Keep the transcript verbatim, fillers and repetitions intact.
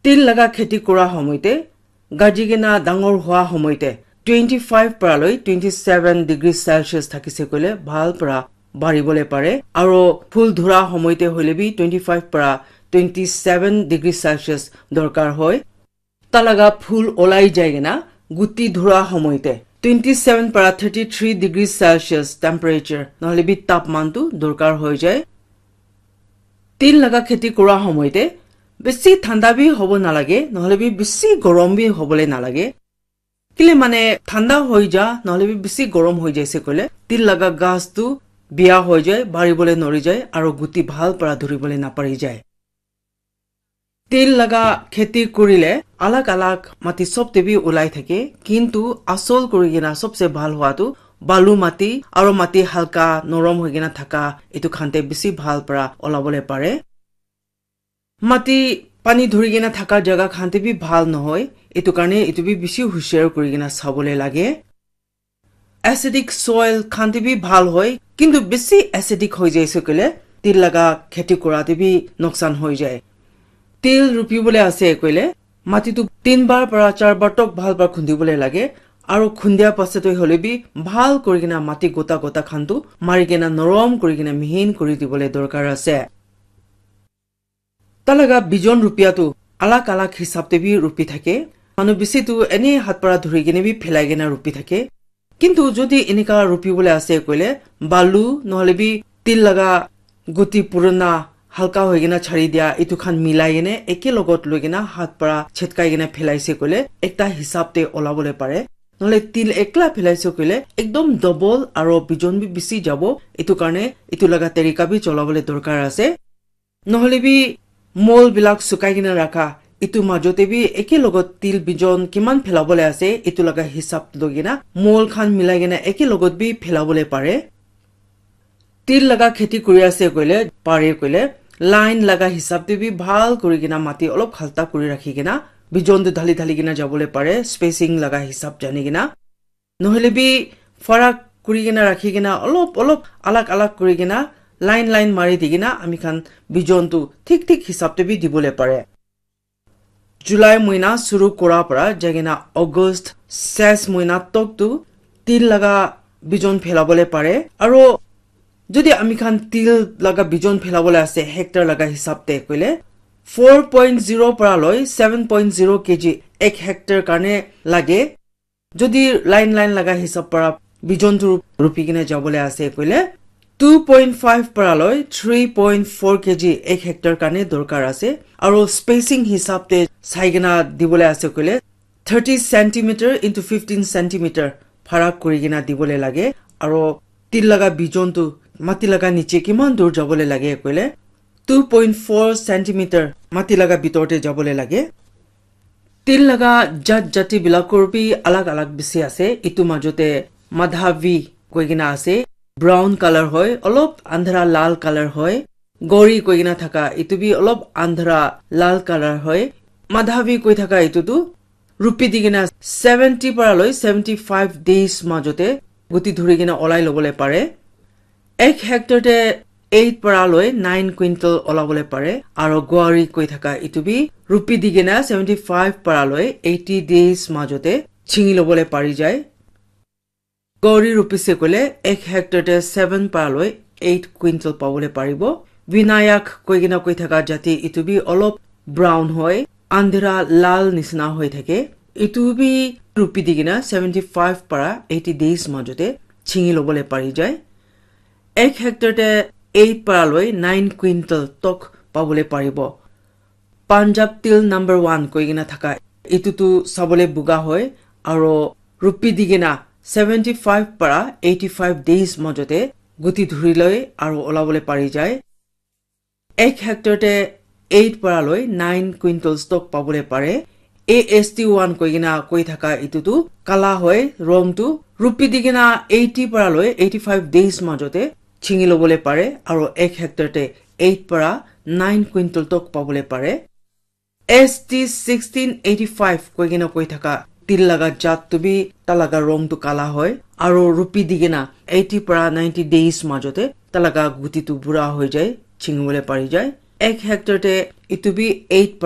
Til laga kheti kura homoite, gaji kena dangor hua homoite twenty five para loi twenty seven degree Celsius thakise koile bhal para bari bole pare. Aro phul dhura homoite hoile bi twenty five para twenty seven degree Celsius dorkar hoi. Talaga phul olai jai kena guti dhura homoite twenty seven para thirty three degree Celsius temperature nohole bi tapman tu dorkar hoi jai. Til laga kheti kura homoite bisi thanda bi hobo nalage, nohole bi bisi gorom bi hobole nalage. Kile mane thanda hoi ja, nohole bi bisi gorom hoi jaise koile, til laga gas tu biya hoi jai, bari bole nori jai, aro guti bhal para dhuri bole napari jai. Til laga kheti kurile alag alag mati sob te bi ulai thake, kintu asol kuri kena sobse bhal hua tu balu mati aro mati halka norom hoi kena thaka etu khan te bisi bhal para ola bole pare. Mati pani dhuri kena thaka jaga khan te bi bhal nohoi, etu karne etu bi bisi hushiar kuri kena sabole lage. Acidic soil khan te bi bhal hoi, kintu bisi acidic hoi jaise koile til laga kheti kura te bi noksan hoi jai. Til rupi bole ase koile mati tu tin bar para char bar tok bhal para khundi bole lage, aro khundia pasat hoi hole bi bhal kuri kena mati gota gota khan tu mari kena norom kuri kena mihin kuri dibole dorkar ase. Talaga bijon rupia tu alag alag hisab te bi rupi thake. Manu bisi tu ene hat para dhuri kena bi phelai kena rupi thake. Kintu jodi enika rupi bole ase koile, balu nohole bi til laga guti purana halka hoi kena chari dia, etu khan milai kena eke logot loi kena hat para chetkai kena phelai se koile, ekta hisab te ola bole pare. Nohole til ekla phelai se koile, ekdom double aro bijon bi bisi jabo. Etu karne etu laga tarika bi chola bole dorkar ase. Nohole bi mol bilak sukai kena rakha, etu majote bi eke logot til bijon kiman phelabole ase, etu laga hisab loi kena mol khan milai kena eke logot bi phelabole pare. Til laga kheti kuri ase koile, pare koile, line laga hisab te bi bhal kuri kena mati olop halta kuri rakhi kena bijon tu dhali dhali kena jabole pare, spacing laga hisab jani kena. Nohole bi farak kuri kena rakhi kena olop olop alag alag kuri kena line line mari di kena ami khan bijon tu thik thik hisab te bi dibole pare. July moina suru kura para jai kena August ses moina tok tu til laga bijon phelabole pare. Aro jodi ami khan til laga bijon phelabole ase hectare laga hisab te koile four point zero para loi seven point zero K G ek hectare karne lage. Jodi line line laga hisab para bijon tu rupi kena jabole ase koile two point five para loi three point four K G ek hectare karne dorkar ase. Aro spacing hisab te sai kena dibole ase koile thirty centimeter into fifteen centimeter pharak kuri kena dibole lage. Aro til laga bijon tu mati laga niche kiman dur jabole lage koile two point four centimeter mati laga bitor te jabole lage. Til laga jat jati bilakor bi alag alag bisi ase. Etu majote Madhavi koi kena ase. Brown color hoi, olop andhara lal color hoi. Gauri koi kena thaka, etu bi olop andhara lal color hoi. Madhavi koi thaka etu tu rupi di kena seventy para loi seventy five days majote guti dhuri kena olai lobole pare. Ek hectare te eight para loi nine quintal olabole pare. Aro Gauri koi thaka etu bi rupi di kena seventy five para loi eighty days majote chingi lobole pari jai. Gauri rupi se koile ek hectare te seven para loi eight quintal pabole paribo. Vinayak koi kena koi thaka jati etu bi olop brown hoi, andhera lal nisna hoi thake. Etu bi rupi di kena seventy five para eighty days majote chingi lobole pari jai. Ek hectare te eight para loi nine quintal tok pabole paribo. Punjab til number one koi kena thaka etu tu sabole buga hoi, aro rupi di kena seventy five para eighty five days majote guti dhuri loi aro olabole pari jai. Ek hectare te eight para loi nine quintal stock pabole pare. A S T one koi kena koi thaka etu tu kala hoi, rong tu rupi di kena eighty para loi eighty five days majote chingi lobole pare, aro ek hectare te eight para nine quintal tok pabole pare. S T sixteen eighty five koi kena koi thaka til laga jat tu bi ta laga rong tu kala hoi, aro rupi di kena eighty para ninety days majote ta laga guti tu bura hoi jai, chingibole pari jai. Ek hectare te etu bi eight para